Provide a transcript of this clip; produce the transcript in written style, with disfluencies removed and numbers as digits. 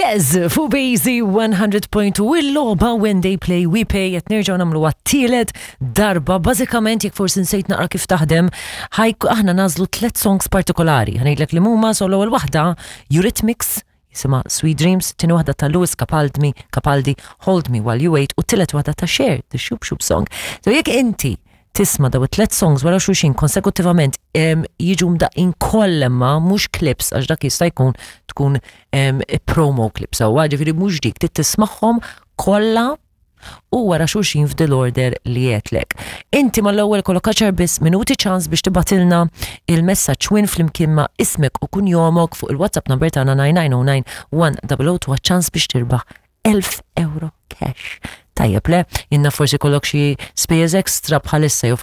Gez fuq Bazy 100.2 il-logħba When They Play We Pay qed nerġgħu nagħmlu għat-tielet darba. Bażikament jekk forsi nsejt naqra kif taħdem, ħajk aħna nażlu tliet songs partikolari. Ħanejdlek li huma so l-ewwel waħda Eurythmics jisimha Sweet Dreams, tieni waħda ta' Lewis Capaldi, Capaldi Hold Me While You Wait u tielet waħda ta' Cher, The Shoop Shoop Song. So jekk inti tisma' daw it-tlet songs wara xulxin konsekutivament jiġu mdaqqin kollha ma mhux clips għax dak jista' jkun tkun promo clips sewwa, ġifieri mhux dik trid tismagħhom kollha u wara xulxin f'dil order li għedtlek. Inti mal-ewwel kollok għaxar biss minuti ċans biex tibgħatilna il-messaġġ win flimkien ma' ismek u kunjomok fuq il-WhatsApp number tagħna 9909 1002 ċans biex tirbaħ 1000 euro cash. Tajjeb le, jinna forsi kollok xi spejjeż extra bħalissa jew